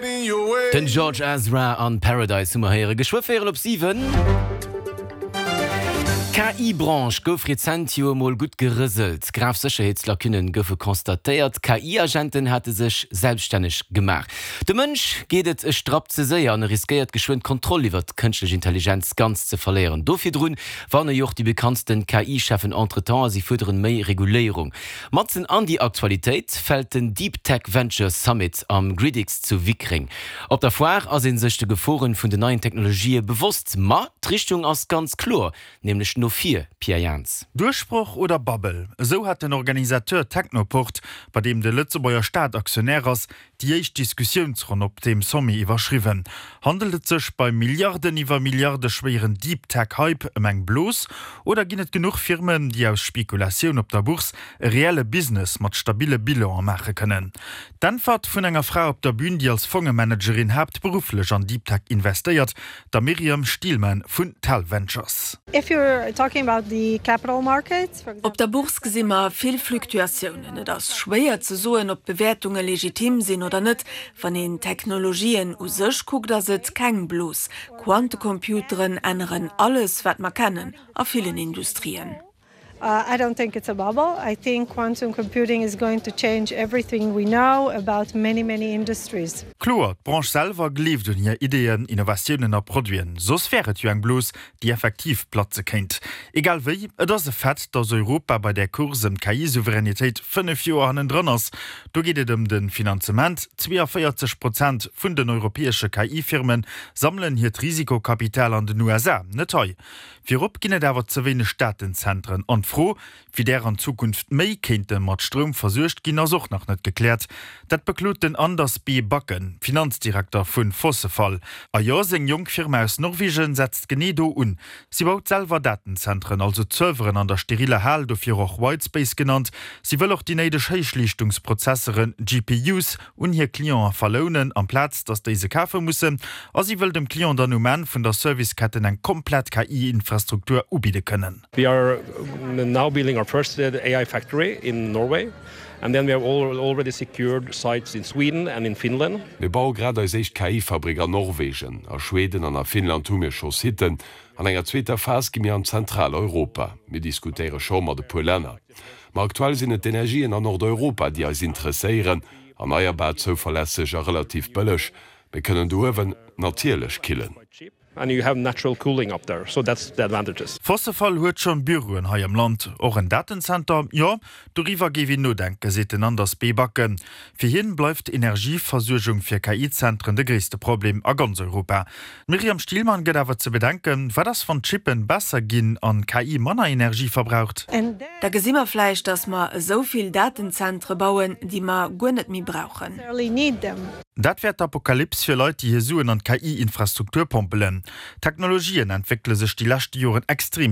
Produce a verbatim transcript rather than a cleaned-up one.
Den George Ezra an Paradise hu mer héieren. Geschwë véierel op siwen. K I-Branche gouf rezent jo emol gutt gerëselt. Grav Sécherheetslacunnen goufe constatéiert. K I-Agenten hate sech selbstänneg gemaach. De Mënsch geet et e Strapp ze séier an e riskéiert geschwënn d'Kontroll iwwer d'kënschtlech Intelligenz ganz ze verléieren. Do virdrun warne jo och déi bekanntsten K I-Cheffen entretemps a si fuerderen méi Reguléierung. Matzen an déi Aktualitéit fält den Deep Tech Venture Summit am GridX zu Wickreng. Op der Foire ass ee sech de Geforen vun den neien Technologië bewosst, ma d'Richtung ass ganz kloer, nämlech no vir, Pierre Jans. Duerchbroch oder Bubble? Esou hat den Organisateur Technoport, bei deem de Lëtzebuerger Staat Aktionär ass, déi éischt Diskussiounsronn op deem Sommet iwwerschriwwen. Handelt et sech beim Milliarden iwwer Milliarde schwéieren Deep Tech Hype ëm eng Blos oder ginn et genuch Firmen, déi aus Spekulatioun op der Bourse e reelle Business mat stabille Bilane maache kënnen? D'Äntwert vun enger Fra op der Bün, déi als Fongemanagerin haaptberufflech an Deep Tech investéiert, der Miriam Stielmann vun Tal Ventures. If you're talking about the capital markets, for Op der Bourse gesi mer vill Fluktuatiounen. Et ass schwéier ze soen, ob Bewäertunge legitim sinn oder net. Wann een Technologien u sech kuckt, ass et keng Blos. Quantecomputeren änneren alles, wat mer kennen, a villen Industrien. Uh, I don't think it's a bubble. I think quantum computing is going to change everything we know about many, many industries. Kloer, d'Branche selwer gleeft un hir Ideeën, Innovatiounen a Produiten. Soss wär et jo eng Blos, déi effektiv platze kéint. Egal wéi, et ass e Fait, dass Europa bei der Course ëm K I-Souveränitéit fënnef Joer hannendrun ass. Do geet et ëm de Finanzement. zwéianvéierzeg Prozent vun den europäesche K I-Firme sammelen hiert Risikokapital an den U S A, net hei. Virop ginn et awer ze wéineg Datenzentren an d'Fro, wéi där an Zukunft méi kéinte mat Stroum versuergt ginn, ass och nach net gekläert. Dat beklot den Anders B. Bakken, Finanzdirekter vu Fossefall. A jo, seng jonk Firma aus Norwegen setzt genee do un. Si baut selwer Datenzentren, also Serveren an der steriller Hal, dofir och Whitespace genannt. Si wëll och déi néideg Héichleeschtungsprozessoren, G P Us, un hir Cliente verlounen, amplaz dass déi se kafe mussen, a si wëll dem Client dann um Enn vun der Serviceketten eng komplett K I-Infrastruktur ubidde kënnen. We are now building our first A I factory in Norway. And then we have already secured sites in Sweden and in Finland. Mir baue grad eis éischt K I-Fabrik an Norwegen, a Schweden an a Finnland hu mir scho Sitten. An enger zweeter Phas gi mir an Zentraleuropa. Mir diskutéiere scho mat e puer Länner. Ma aktuell sinn et d'Energien an Nordeuropa, déi eis interesséieren, erneierbar, zouverlässeg a relativ bëlleg. Mir kënnen do uewen natierlech killen. And you have natural cooling up there, so that's the advantages. Fossefall huet schonn Büroen hei am Land, och en Datenzenter, jo, doriwwer géif een nodenken, seet den Anders B. Bakken. Fir hien bleift Energieversuergung fir K I-Zentren de gréisste Problem a ganz Europa. D'Miriam Stielmann gëtt awer ze bedenken, wat ass, wann d'Chippen besser ginn an K I manner Energie verbraucht? Da gesi mer vläicht, dass mer esou vill Datenzentre bauen, déi mer guer net méi brauchen. Dat wär d'Apokalyps fir Leit, déi hir Suen an K I-Infrastruktur pompelen. Technologien entwéckele sech déi lescht Joren extrem.